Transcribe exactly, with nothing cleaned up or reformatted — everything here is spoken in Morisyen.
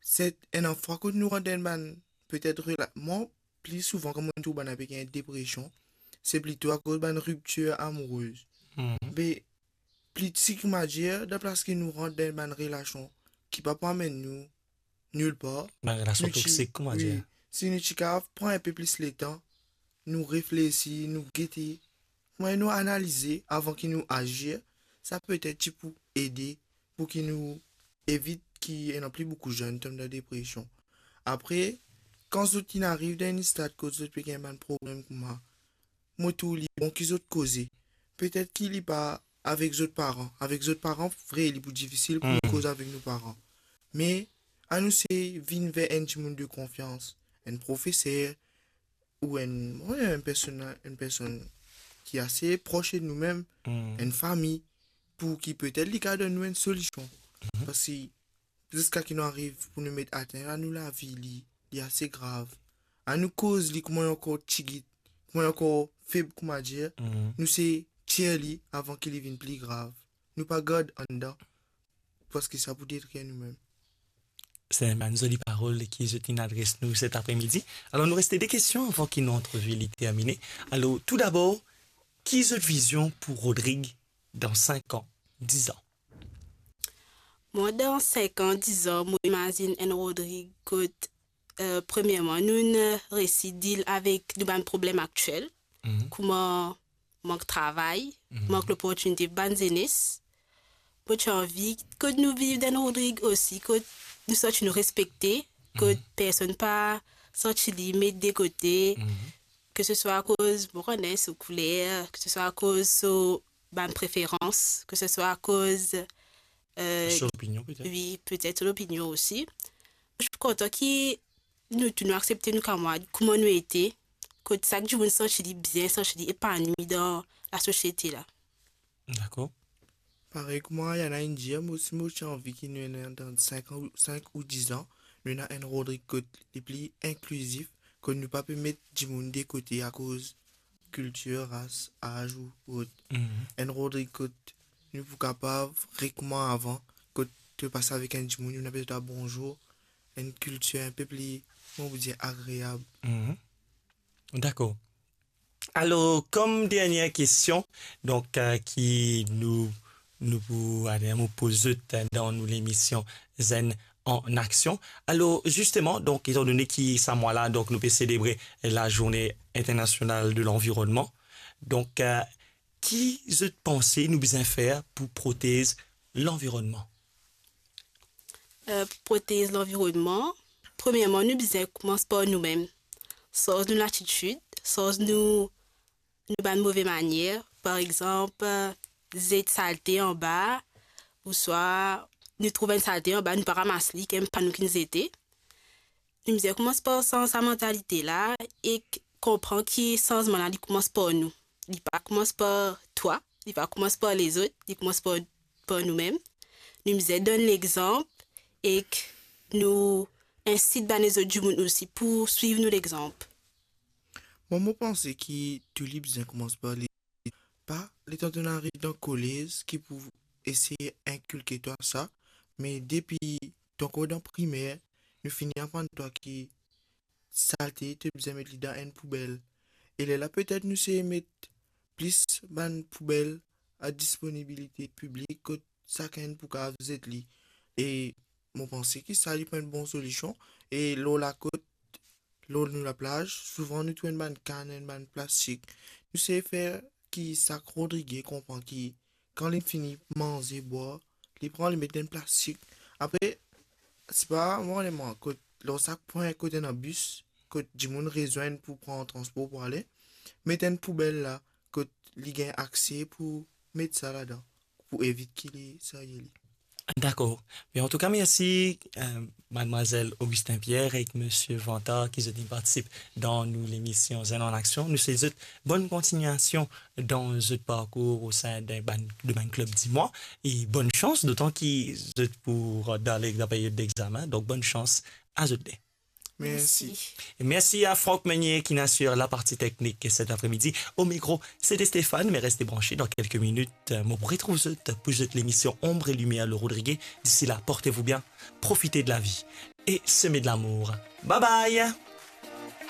Se enn fwa kot nou rant dan bann, petet rela-, mwa, pli souvan, kan mo trouv bann pe gagn depresion, se plito akoz bann riptir amourez. Mhm. Be, pli sik, koumadir, dan plas ki nou rant dan bann relasion ki pa pou amenn nou nilpar. Bann relasion toksik, koumadir. Si nou ti kapav pran enpe plis letan, nou reflesi, nou gete, kouma nou analize avan ki nou azir, sa petet ti pou ede pou ki nou evit ki ena pli boukou zenn tom dan depresion. Apre, kan zot inn ariv dan enn stad kot zot pe gagn bann problem kouma, mo trouv li bon ki zot koze. Petet ki li pa avek zot paran. Avek zot paran, vre, li pou difisil pou nou koz avek nou paran. Me, anou sey vinn ver enn dimoun de konfians, enn profeser, ou enn, wi, enn personn, enn personn ki ase pros de nou mem, enn fami, pou ki petet li kapav donn nou enn solision. Paski ziska ki nou ariv pou nou met atenn a nou lavi, li, li ase grav. Anou koz li kouma li ankor tigit, kouma li ankor feb, koumadir, nou sey tir li avan ki li vinn pli grav. Nou pa gard andan, paski sa pou detrir nou mem. Se bann zoli parol ki zot inn adres nou set apremidi. Alor, nou reste de kestion avan ki nou antrevi li termine. Alor, toudabor, ki zot vizion pou Rodrig dan sink an, diz an? Mwa, dan sink an, diz an, mo imazinn enn Rodrig kot, eh, premierman, nou'nn resi deal avek nou bann problem aktiel, kouma mank travay, mank loportinite bann zenes. Mo ti anvi kot nou viv dan Rodrig osi, kot nou santi nou respekte, kot personn pa santi li met de kote, ke se swa akoz, mo kone, so kouler, ke se swa akoz so bann preferans, ke se swa akoz, eh, so lopinion, petet. Wi, petet so lopinion osi. Mo ti kontan ki nou tou nou aksepte nou kamarad kouma nou ete, kot sak dimoun santi li bien, santi li epanwi dan lasosiete la. Dakor. Parey kouma Ayana inn dir, mo osi mo ti anvi ki nou ena dan sink an, sink ou diz an, nou ena enn Rodrig kot li pli inklizif, kot nou pa pe met dimoun de kote akoz kiltir, ras, az ou ot. Enn Rodrig kot nou pou kapav re kouma avan, kot to pas avek enn dimoun, nou ena pe dir twa bonzour, enn kiltir inpe pli, kouma pou dir, agreab. Dakor. Alor, kom dernie kestion, donk, eh, ki nou, nou pou, ale, nou poz zot, eh, dan nou lemision Zenn an Aksion. Alor, zisteman, donk, etandone ki sa mwa la, donk, nou pe selebre Lazourne Internasional de Lanvironnman, donk, eh, ki zot panse nou bizin fer pou protez lanvironnman? Eh, pou protez lanvironnman, premierman, nou bizin koumans par noumem. Sanz nou latitid, sanz nou, nou bann move manier. Par exanp, eh, zet salte anba, ouswa nou trouv enn salte anba, nou pa ramas li, kan mem pa nou ki'nn zete. Nou bizin koumans par sanz sa mantalite la ek konpran ki sanzman la, li koumans par nou. Li pa koumans par twa, li pa koumans par lezot, li koumans par, par noumem. Nou bizin donn lexanp ek nou insit bann lezot dimoun osi pou swiv nou lexanp. Mwa, mo panse ki tou li bizin koumans par li. Pa letan to'nn ariv dan kolez ki pou eseye inkilke twa sa, me depi to ankor dan primer, nou fini aprann twa ki salte, to bizin met li dan enn poubel. E lerla petet nou sey met plis bann poubel a disponibilite piblik kot sakenn pou kapav zet li. E mo panse ki sa li pou enn bon solision. E lor lakot, lor nou laplaz, souvan nou trouv enn bann kann, enn bann plastik. Nou sey fer ki sak Rodrigye konpran ki kan li fini manze, bwar, li pran, li met dan enn plastik. Apre, sipa, mo, lerla, kot, lor sak pwin kot ena bis, kot dimoun rezwenn pou pran transpor pou ale, met enn poubel la, kot li gagn akse pou met sa ladan, pou evit ki li serye li. Dakor. Me antouka, mersi, eh, madmwazel Augustin Pierre ek misie Vantard ki zot inn partisip dan nou lemision Zenn an Aksion. Nou swet zot bonn kontignasion dan zot parkour osin de bann, de bann klib dimoun e bonn sans, dotan ki zot pou rant dan le, dan period dexamen. Donk, bonn sans a zot de. Mersi. E mersi a Franck Meunier ki inn asir laparti teknik set apremidi. O mikro, sete Stéphane, me reste branche. Dan kelke minit, mo pou retrouv zot pou zot lemision Ombre et Lumière, le Rodrigué. D'ici là, portez-vous bien, profitez de la vie et semez de l'amour. Bye bye.